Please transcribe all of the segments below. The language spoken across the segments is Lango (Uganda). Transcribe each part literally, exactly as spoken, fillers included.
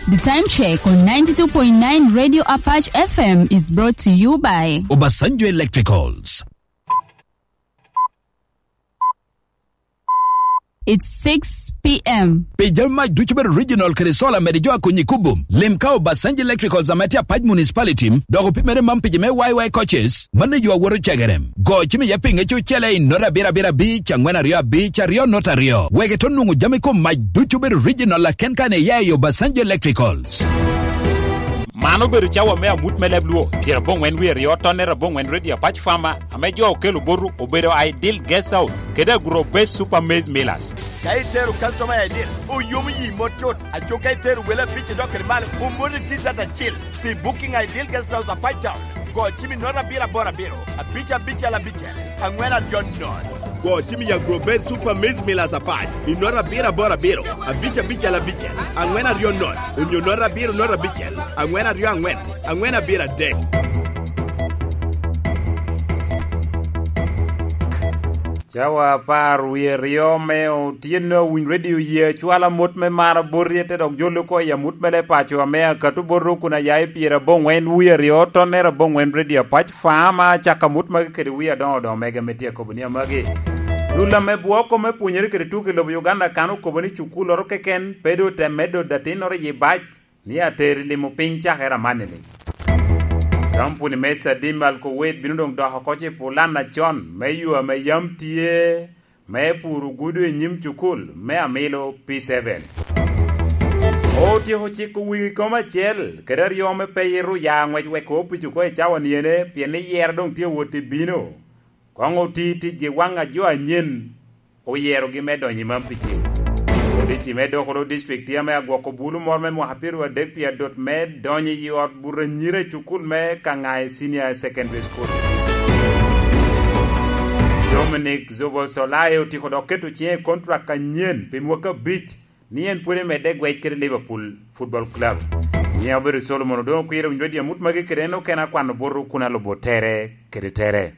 The time check on ninety-two point nine Radio Apache F M is brought to you by Obasanjo Electricals. It's six p.m. Pi jami mac ducu bedo original kede solar mede jo a konyi kubo. Lim ka Obasanjo Electricals ame tye Apac Municipality, dok opimere man pi jo me Y Y coaches, mano yo a woto cegere. Go cim iye pinge cucele i nota abiro abiro abic, angwen aryo abic, aryo nota aryo. Wek ito nwoŋo jami kom mac ducu bedo original aken kan iya i Obasanjo Electricals. Man obedo cawa me amut me leb Luo, pyeraboŋwen wie aryo, tonnere aboŋwen Radio Apac Farmer, ame jo okelo botu obedo Ideal Guest House, kede Agro Base Super Maize Millers. Ka itero customer I D, oyomo yi mot tut. Aco ka itero wele abic idok kede malo, omoni T-shirt acil. Pi booking Ideal Guest House Apac Town, go cim i nota abiro aboro abiro, abic abicel abicel, angwen aryo nono. Go cim i Agro Base Super Maize Millers Apac i nota abiro aboro abiro, abic abicel abicel, angwen aryo nono, onyo nota abiro nota abicel, angwen aryo angwen, angwen abiro adek. Cawa apar wie aryo me otyeno, awiny redio ye acwala mot me mar abot ryete, dok jolo oko i amut mere paco ame akato bot rok kun aya i pyeraboŋwen wie aryo, tonnere aboŋwen, redio Apac Farmer, acako amut magi kede wie adoŋo doŋo mege me tye akobo ni amagi. Dul ame bwoko me pwonyere kede tuko i lobo Uganda kan okobo ni cukulloro keken pe doŋ te medo datinnoro i bac, ni ater i limo piny cakere amanni-ni. Kampuni me Sadim Alkowet bino doŋ dok oko i pulan acon me yo ame yam tye me puro gudo i nyim cukul me Amilo P seven. Otyeko ciko wigi kom acel kede aryo me pe ito ya ŋwec wek opic oko i cawa niene, pien ni yero doŋ tye wot i bino. Koŋ oti ticgi waŋ a jo anyen oyerogi me donyo i man pi cen. Polisi me Dokolo District tye ame agwoko bulu moro me mwaka pyeraryo adek pi adot me donyo i ot buto anyira i cukul me Kangai Senior Secondary School. Dominic Zobosolai otiko dok keto ciŋe i kontrak anyen pi mwaka abic, ni en pwod emedde gwec kede Liverpool Football Club. Nyiŋe obedo Solomon Odongo Kwir, owinyo dye amut magi kede en okene akwano boto kun alubo tere kede tere.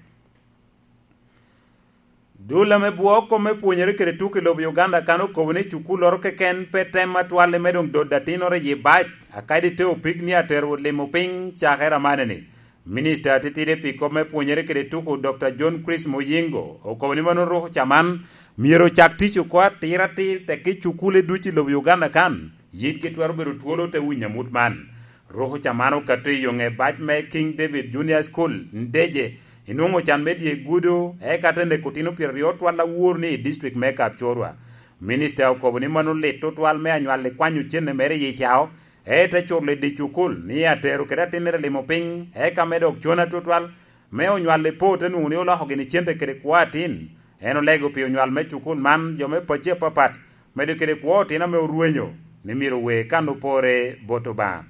Dul ame bwoo kome pwonyere kede tuko i lobo Uganda kan okobo ni cukulloro keken pe tem atwal i me doŋ dodo atinnoro i bac, akadi te opik ni atero limo piny cakere amaneni. Minista atitidi pi kop me pwonyere kede tuko, Doctor John Chris Muyingo, okobo ni mano ruko ca man myero ocak tic oko atir atir, tekki cukule ducu i lobo Uganda kan yitgi twero bedo twolo te winyo amut man. Ruko ca man okato i yoŋe bac me King David Junior School, Ndeje, inwoŋo can me dye gudo, eka te neko otino pyeraryo twal awor ni i district me Kapchorwa. Minista okobo ni mano lit tutwal me anywal i kwanyo cene mere i cao, ete culo i dye cukul ni atero kede atinnere limo piny, eka me dok con atutwal, me onywal i po te nwoŋo ni oloko gini cente kede kwo atin. En olego pi onywal me cukul man jo me pacci apapat, medo kede kwo otino ame orwenyo, ni myero owe kan opore bot Obaŋa.